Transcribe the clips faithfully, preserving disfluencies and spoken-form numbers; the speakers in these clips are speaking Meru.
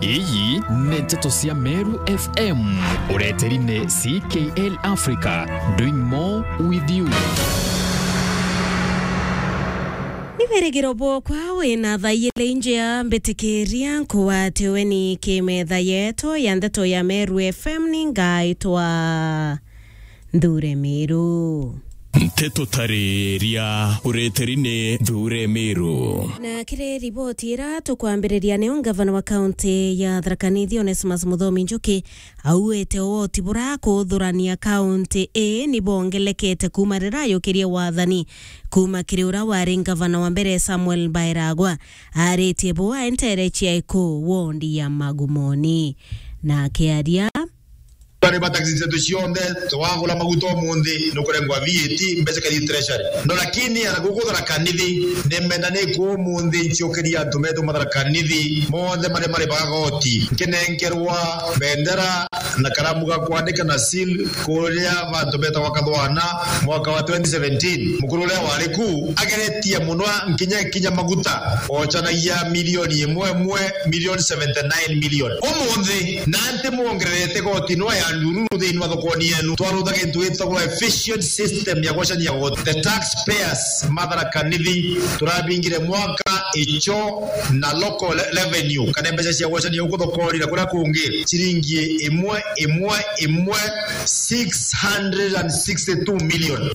Iyi ni nteto cia Meru F M, ureteri ni C K L Africa, doing more with you. Ni wirigiro bwokwa wina thaa ijiri njia, mbitikiria nkugwate ugeni ki metha yetu ya nteto ya Meru F M, ni ngaitwa Nthure Miru. Nteto tariria ureteri ni Nthure Miru. Na kiri riboti ira tukwambiriria, niyo ngavana wa kaunti ya Tharaka Nithi, Onesmus Muthomi Njuki, auite ugoti bura kuthurania kaunti ii ni bongelekete kuuma riria ayukirie wathani kuuma kiri uria wari ngavana wa mbere, Samuel Bairagwa. Aritie buu aentere Chiaiku, wondi ya Magumoni. Na akiaria, bari ba taxi zetu cionthe, twagura maguta umunthi, nukurengwa V A T, mbeca kathi treasury. No, lakini ana guku Tharaka Nithi, nimenda niku umunthi nchiukiria antu metu ma Tharaka Nithi, monthe mari mari ba goti, nkinenkerwa bendera na karamu ga kwandika na seal kuria bantu betagwa Kathwana mwaka wa twenty seventeen. Mukuru uria wari ku ageretie muno nkinya kinya maguta, ochanagia milioni imwe imwe, milioni seventy nine million. Umunthi, na nti mwongererete goti nwa ya ndururu thiini wa thokoni yenu. Twarutha gintu gitagwa efficient system ya gwacania goti. The taxpayers ma Tharaka Nithi, turabingire mwaka icho na local re-, revenue, kana mbeca cia gwacania guku thokoni na kuria kungi, ciringi imwe, imwe, imwe, six hundred and sixty-two million.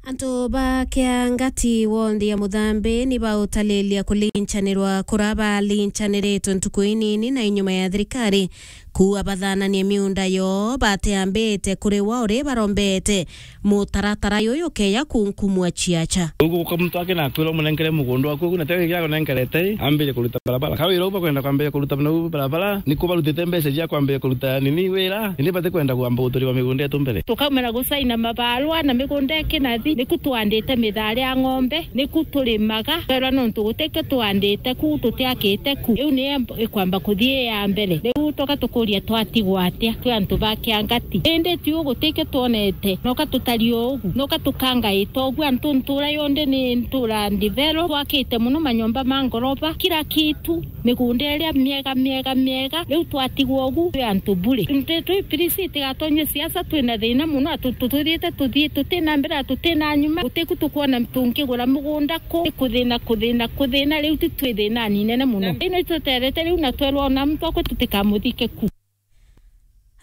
Antu ba Kiangati, wondi ya Muthambi, ni bautalilia kulinchanirwa kuria balinchaniriitwe ntuku inini na inyuma ya thirikari kuua bathananie miunda yoo bateambite kuriwa uri barombete mutaratara yuyu ukeya kunkumua ciacha. Uguka muntu akina akwira umunenkere mugunda waku ugu, na tege gia gunenkerete, ambire kuruta barabara. Kawira uba kwenda kwambia kuruta na barabara, ni kubarutite mbeca cia kwambia kuruta nini wira, ni bati kwenda kwamba guturiwa migunda yetu mbere. Tukaumira gusaina mabarua na migunda ikinathi, niku twandite mithari ya ng'ombe, niku turimaga, twerwa nontu gutikio twandite ku, tutiakite ku. Iu ni ikwamba kuthii ya mbere. Riu tuka tukuria twatigwa atia twi antu ba Kiangati? Indi tiu gutikio twonete, noka tutari ugu, noka tukangaita ugu. Antu ntura yonthe ni ntura ndithero, twakite muno manyomba ma ngoroba, kila kitu, migunda iria miega, miega, miega. Riu twatigwa ugu twi antu bure. Nti twi pirisi, tigatonywe siasa, twina thina muno, atu-, tu-, tuthiite tuthii, tutina mbere, tutina nyuma, gutiku tukwona tungigura mugunda ku, kuthina, kuthina, kuthina, riu ti twi thinani inene muno. Ino ituterete riu na twerwa ona muntu akwe tutikamuthike ku.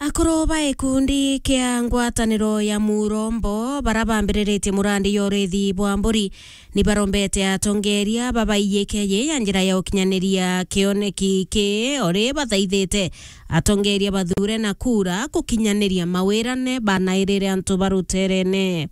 Akuru ba gikundi kia ngwataniro ya Murombo, bara bambiriritie murandi ya urithi bwa mburi, ni barombete atongeria babaiyike yi ya njira ya ukinyaniria kioneki ki, uri bathaithite atongeria bathure na kura gukinyaniria mawirane banairire antu ba ruterene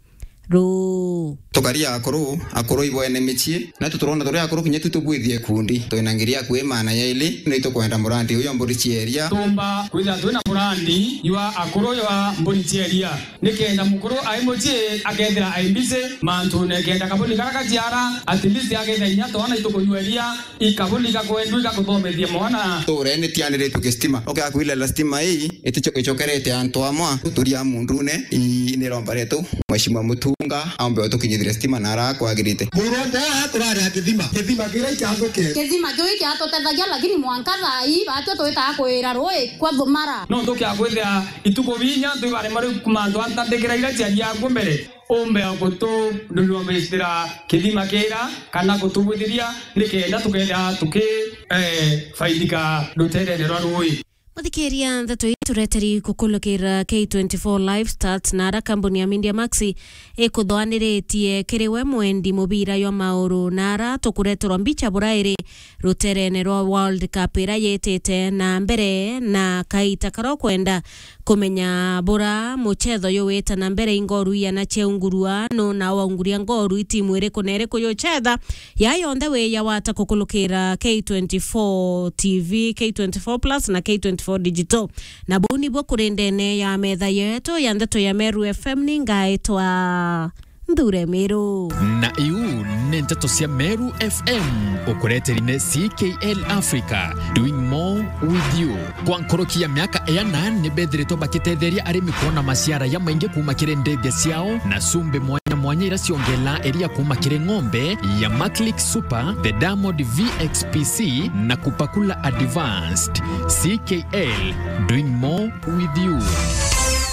ruu. Tukaria akuru, akuru ibo ene micii, na tuturona turi akuru kinya tu tubwithie kundi. Twina ngiria akui maana yaili, ni tukwenda murandi uyu wa mburi cia iria. Tumba kwithira twina murandi jwa akuru jwa mburi cia iria, nikenda mukuru ai mucii akethira ai busy mantune, kenda kabuni kara gaciara, at least akethira inya twana itukunywa iria, ikabuni gakwendwa igakuthomethia mwana. Tuure ni tianiritwe gistima. Ukiakwirira stima ii, iticho-, ichokerete antu amwe, guturia mundune, ii, ni iromba rietu, Mheshimiwa Mutunga, aumbe utukinyithire stima na ara kwagirite. Murombo aa turari a kithima, kithima kiria ikiathuke. Kithima kiu ikiatutethagia, lakini mwanka thaa ii, batio twitaa kwira rui kwa thumara. No tukia kwithira ituku binya, antu ibarema riu mantu antandikira iria ciaria akuo mbere. Umbe gutununumistira kithima kira, kana gutubwithiria, nikenda tukethira tuki, eh, faidika ruterene rwa rui. Muthikiria, ndeto ii tureteri kukulukira K twenty-four Live Stats, na ara kambuni ya Media Max ikuthwaniritie kiri we mwendi mubira jwa mauru, na ara tukureterwa mbicha burairi ruterene rwa World Cup ira yitite na mbere, na kaita karia ukwenda kumenya bura muchetho uyu wita na mbere, i ngoru iana ciaungurua, nu na waunguria ngoru, i timu iriku na iriku yuchetha. Ya yonthe wi ya wata kukulukira K twenty-four T V, K twenty-four Plus na K twenty-four Digital. Na buu nibuo kuri ndene ya metha yetu ya ndeto ya Meru F M, ni ngaitwa Nthure Miru. Na iu ni nteto cia Meru F M, ukureteri ni C K L Africa, doing more with you. Kwa nkoroki ya miaka iana, ni bethiritwe bakitetheria arimi kwona maciara ya maingi kuuma kiri ndethia ciao na cumbi mwanya mwanya iria ciongelaa iria kuuma kiri ng'ombe ya Maclick Super, the Diamond V X P C na Kupakula Advanced. C K L, doing more with you.